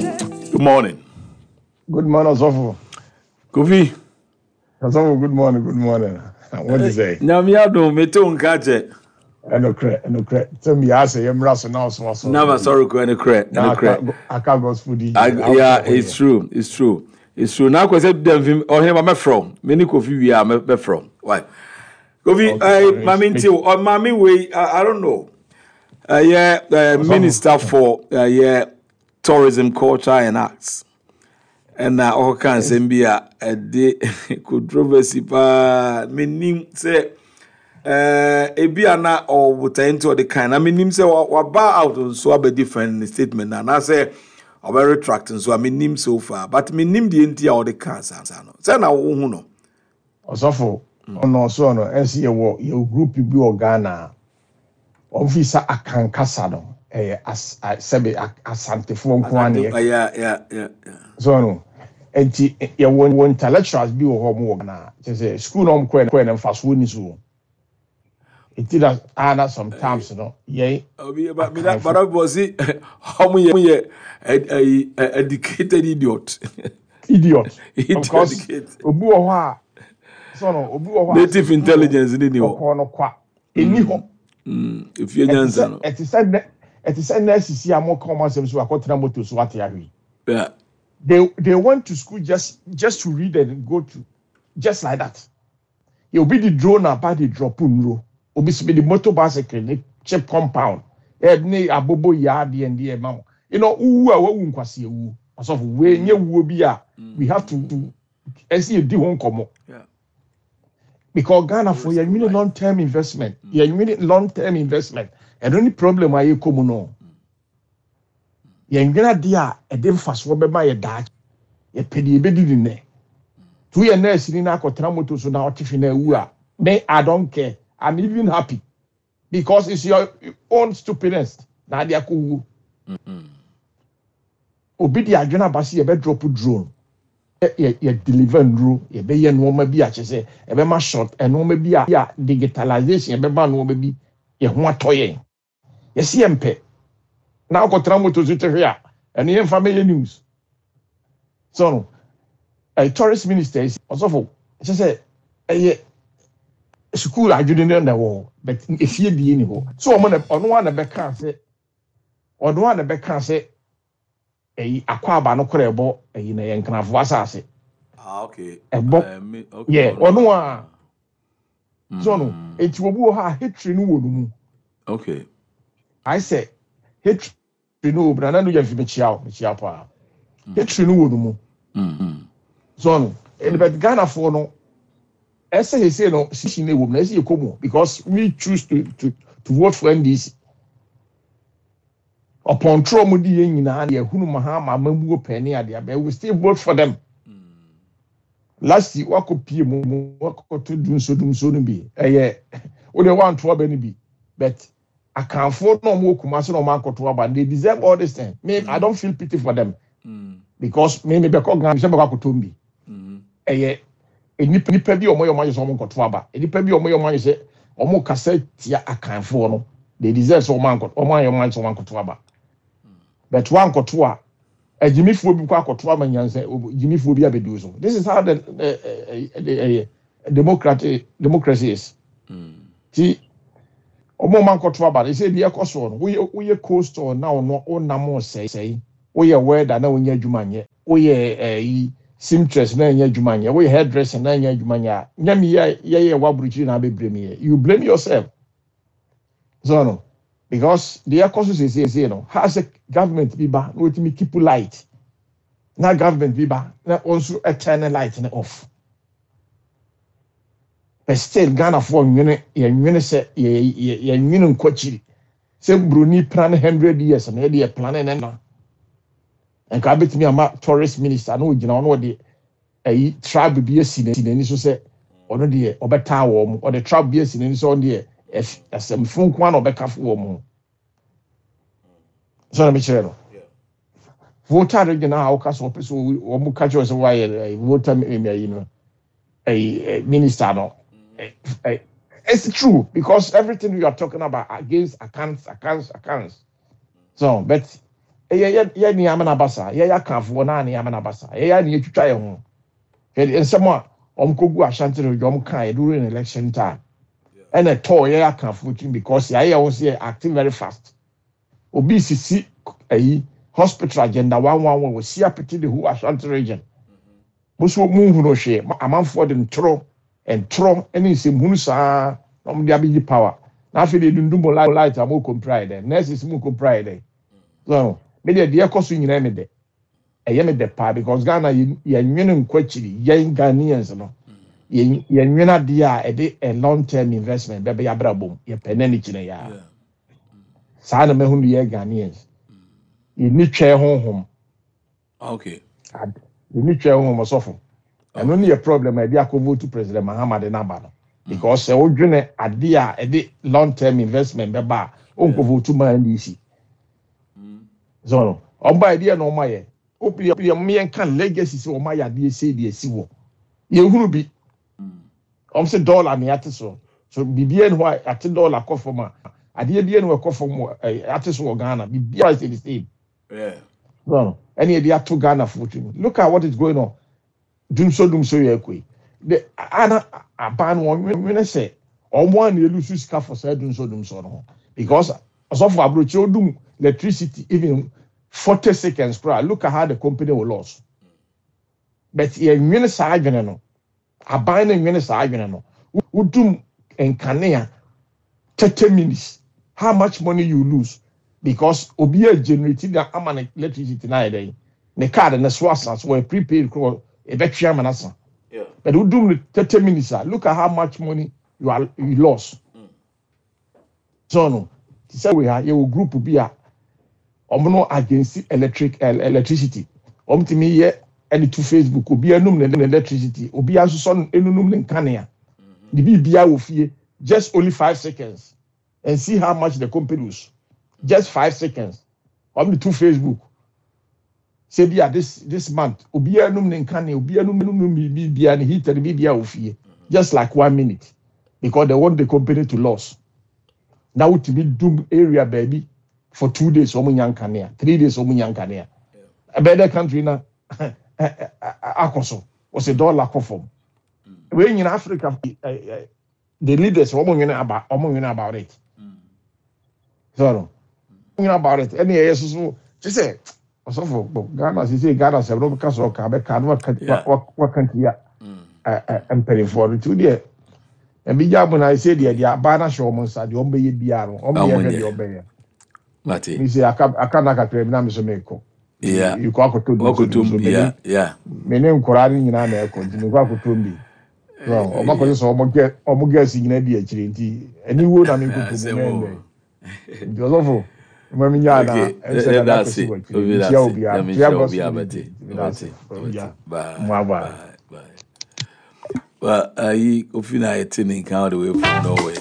Good morning. Good morning, Osofo. Kofi. Osofo, good morning, good morning. What is it? Nyame adom, mete wo nka kyɛ. Ɛnokorɛ, ɛnokorɛ. Sɛ mi asɛ yɛ mmra so na ɔso asɔre. Na ma sɔre kɔ ɛnokorɛ, ɛnokorɛ. Aka gospel di. Yeah, it's true, it's true. It's true. Na akɔ sɛ dɛm fi ɔhene ma mɛfrɛ wo. Me ne Kofi wie a mɛfrɛ wo. Why? Kofi, eh, maame nti o, maame wei, I don't know. Ɛyɛ minister for ɛyɛ tourism, culture and arts. Ɛna ɔkɔka nsɛm bi a ɛde controversy paa. Menim sɛ ebi a na ɔwɔ botae nti ɔde kan na menim sɛ waba out nso abɛ defend ne statement na anaasɛ ɔbɛ retract nso a menim so far, but menim deɛ nti a ɔde kan saa no sɛ na wohu no. Ɔsɔfo, ɔno ɔso no ɛsɛ yɛwɔ group bi wɔ Ghana a wɔn fi sa akankasa no ɛyɛ as sɛbi Asantefoɔ nko ara na yɛ. So no nti yɛwɔ wɔ intellectuals bi wɔ hɔ, ɔmo wɔ Ghana kyerɛ sɛ school na ɔmo kɔɛ no mfasoɔ ni so. Nti na ana sometimes no yɛn Obi ba mi na bada bɔ si ɔmo yɛ ɛyi educated idiot. Idiot. Because obi wɔ hɔ a so no obi wɔ hɔ a native intelligence ni ni hɔ. Ɔkɔɔ no kwa ɛni hɔ. Efie nyansa no. Ɛte sɛ nurses yi a mo ka wɔn asɛm so akɔtena moto so ate ahwe. They went to school just to read and go to just like that. Yɛ obi di drone aba de drop nnuro, obi si bi de motor bicycle ne chip compound ɛ ne abobo yaa deɛ ndeɛ ma wo wuwu a wawu nkwasi ewu. Asɔfo, wei nye wuo bi a we have to ɛsi edi ho nkɔmɔ because Ghana for yɛn nwene long term investment, yɛn nwene long term investment. Ɛno ne problem a yɛkɔ mu no. Yɛn nwene adeɛ a ɛde mfasoɔ bɛma yɛ daakye. Yɛpɛ deɛ yɛbɛdi ne nnɛ. Tu yɛ nurse ni na akɔtena moto so na ɔte hwe na awu a, me, I don't care. I'm even happy because it's your own stupidness na ade akɔ wuo. Obi de adwene aba sɛ yɛbɛ drop drone, yɛ deliver nnuro, yɛbɛyɛ nneɛma bi a kyerɛ sɛ ɛbɛma short nneɛma bi a digitalization yɛbɛma nneɛma bi yɛ ho atɔ yɛn. Yɛsi yɛn mpɛ na akɔtena moto so te hwe a, ɛno yɛmfa mɛyɛ news so no. Tourist minister yi, ɔsɔfo, kyerɛ sɛ ɛyɛ sukuu adwene no na ɛwɔ hɔ, but efie die ni hɔ so. Ɔmo na ɔno a na bɛka sɛ ɔno a na bɛka sɛ ɛyi akɔ aba no korɛ ɛbɔ ɛyi na yɛ Nkrafoɔ asase. Ɛbɔ yɛ ɔno a so no eti obi wɔ hɔ a hatred no wɔ no mu. Ayɛ sɛ hatred no wɔ mu na nanu yɛ nfi mekyia o, mekyia paa. Hatred no wɔ no mu so no ɛni, but Ghanafoɔ no ɛsɛ sɛ no sisi na ɛwɔ mu na ɛsɛ yɛ kɔ mu because we choose to vote for NDC. Ɔpɔntorɔ mu di yɛn nyinaa yɛ hunu Mahama amamuo pɛn ne adeɛ abɛn, we still vote for them. Last year wakɔ pie mu wakɔto dumso dumso no bi, ɛyɛ o deɛ wanto aba no bi, but Akanfoɔ na ɔmo wɔ Kumasi na ɔmo akɔto aba, they deserve all this thing. Me, I don't feel pity for them because me bɛkɔ Ghana sɛ bɛkɔ akɔtɔ bi. Ɛyɛ nipa bi a ɔmo yɛ ɔmo ayɛ sɛ ɔmo nkɔto aba, nipa bi a ɔmo yɛ ɔmo ayɛ sɛ ɔmo kasa tia Akanfoɔ no, they deserve sɛ ɔmo ankɔ, ɔmo ayɛ ɔmo ayɛ sɛ ɔmo ankɔto aba, but wankɔto a, agyimifoɔ bi kɔ akɔto ama nyansa gyimifoɔ bi abɛdu so. This is how the democracy is. Ti ɔmo ɔmo ankɔto aba no sɛ ebi ɛkɔ soɔ no, woyɛ coastal na ɔno ɔnam sɛe, woyɛ welder na wonyɛ adwuma nyɛ, woyɛ ɛyi seamstress na ɛnyɛ adwuma nyɛ, woyɛ hairdresser na ɛnyɛ adwuma nyɛ a, nyɛ yɛ yɛyɛ wɔ aburukyiri na abɛbrɛ mi yɛ, you blame yourself so no, because deɛ ɛkɔ so siesie no ha sɛ government bi ba na wɔtumi keep light na government bi ba na wɔn nso turn light no off, but still Ghanafoɔ nwene, yɛnwene sɛ yɛ yɛnwene nkɔ akyiri sɛ broni plan 100 years no, yɛde yɛ plan ne na nka abɛtumi ama tourist minister na ogyina hɔ na ɔde ɛyi tribe bi asi n'ani so sɛ ɔno deɛ ɔbɛtaa wɔn mo, ɔde tribe bi asi n'ani so, ɔno deɛ ɛsɛmfo nko ara na ɔbɛka fo wɔn mo sɛ ɔno mekyerɛ no. Volta Region a ɔka sɛ ɔpɛ sɛ wɔn ka kyerɛ sɛ wɔayɛ Volta ɛyi no ɛyi minister no, it's true because everything you are talking about against Akans, Akans, Akans so, but Ɛyɛ yɛ yɛ nneɛma na aba saa. Yɛyɛ Akanfoɔ na nneɛma na aba saa. Yɛyɛ a na yɛtwitwa yɛn ho. Hwɛ deɛ nsɛm a wɔn kɔgu Ashanti region wɔn kaeɛ during election time. Ɛna ɛtɔɔ yɛyɛ Akanfoɔ tirim because yɛayɛ yɛn ho sɛ yɛ acting very fast. Obi sisi ayi hospital agenda 111 wɔsi apete the whole Ashanti region. Mo nso monhunu hwee. Amanfoɔ de ntorɔ ntorɔ ne nsɛmhunu saa na wɔde abɛgye power. Na afei deɛ dundum mo light a mokɔmpira yɛ dɛn? Nurses mokɔmpira yɛ dɛn? So me deɛ deɛ ɛkɔ so nyinaa me dɛ. Ɛyɛ me dɛ paa because Ghana yɛnwene nkɔ akyiri. Yɛn Ghanaians no yɛnwene adeɛ a ɛde a long term investment bɛbɛ yɛabrabɔ mu. Yɛpɛ nɛ ne kyinɛ yaa. Saa na mahunu yɛ Ghanaians. Yɛnni twɛn honhom. Okay. Yɛni twɛ ho ɔsɔfo. Ɛno ne yɛ problem a ɛde akɔ vote President Mahama de n'aba no. Because sɛ wodwene ade a ɛde long term investment bɛba a, wonkɔ vote ma NDC. So no, ɔba ɛdeɛ na ɔma yɛ. Obi yɛ mo yɛn ka legacy sɛ ɔma yɛ adeɛ sei deɛ si wɔ. Yɛhunu bi. Ɔm sɛ dollar ne ate so. So biribiara ni hɔ a ate dollar kɔ fam a, adeɛ biara ni hɔ ɛkɔ fam wɔ ate so wɔ Ghana. Biribiara is the same. Yeah. No, ɛne yɛde ato Ghana foɔ tirim. Look at what is going on. Dumso dumso yɛ ɛkɔ yi. The ana aban no wɔn nwene sɛ wɔn a na elusu sika for saa dumso dumso no ho because ɔsɔfo aburokyire odum electricity even 40 seconds koraa, look at how the company will lose. But yɛn nwene saa adwene no, aban no nwene saa adwene no. Wodum nkanea 30 minutes, how much money you lose, because obi a generate na ama ne electricity na ayɛ dɛn, ne card ne so asa so wɔyɛ prepaid koro ebɛtwe ama n'asa, but wodum no 30 minutes a, look at how much money you lost. So no te sɛ wei ha, yɛwɔ group bi a wɔn no against electricity. Wɔn tumi yɛ ɛde to Facebook, obi anum ne electricity, obi asosɔ enunum ne nkanea ne biribiara wɔ fie just only 5 seconds and see how much the company lose. Just 5 seconds, wɔn de to Facebook sɛ bi a this month obiara num ne nkanea, obiara num ne biribiara, ne heater, ne biribiara wɔ fie just like one minute because they want the company to lose. Na wotumi dum area baabi for 2 days, wɔn nya nkanea, 3 days, wɔn nya nkanea. Ɛbɛyɛ dɛ country na akɔ so wɔsɛ dollar kɔ fam. Wei nyina Africa the leaders wɔn nwene about it. So no nwene about it. Ɛne ɛyɛ soso te sɛ ɔsɔfo Ghana sisi Ghana sɛ no ka so ɔka bɛka no waka waka ntia mpanimfoɔ no. Nti deɛ ebi gya mu na ɛsɛ deɛ abaa no ahyɛ wɔn nsa deɛ wɔn bɛyɛ biara no, wɔn yɛ hwɛ deɛ wɔn bɛyɛ. Mate. Mi sɛ aka na kakra bi na mi so mi kɔ. Yikɔ akɔtɔ du so so me ne nkɔraa no nyinaa na ɛkɔ, nti mi kɔ akɔtɔ bi. Ɔmo akɔsɛ sɛ ɔmo girls nyinaa di akyire, nti ɛni wo na mi nkɔtɔ mu mɛ ndɛ. Nti ɔsɔfo mo mi nya na ɛsɛ na da kɔsi wɔ akyire nkyia obiara nkyia gospel mi da ase obiara mo aba. Well, ayi Kofi na yɛte ne nka all the way from Norway.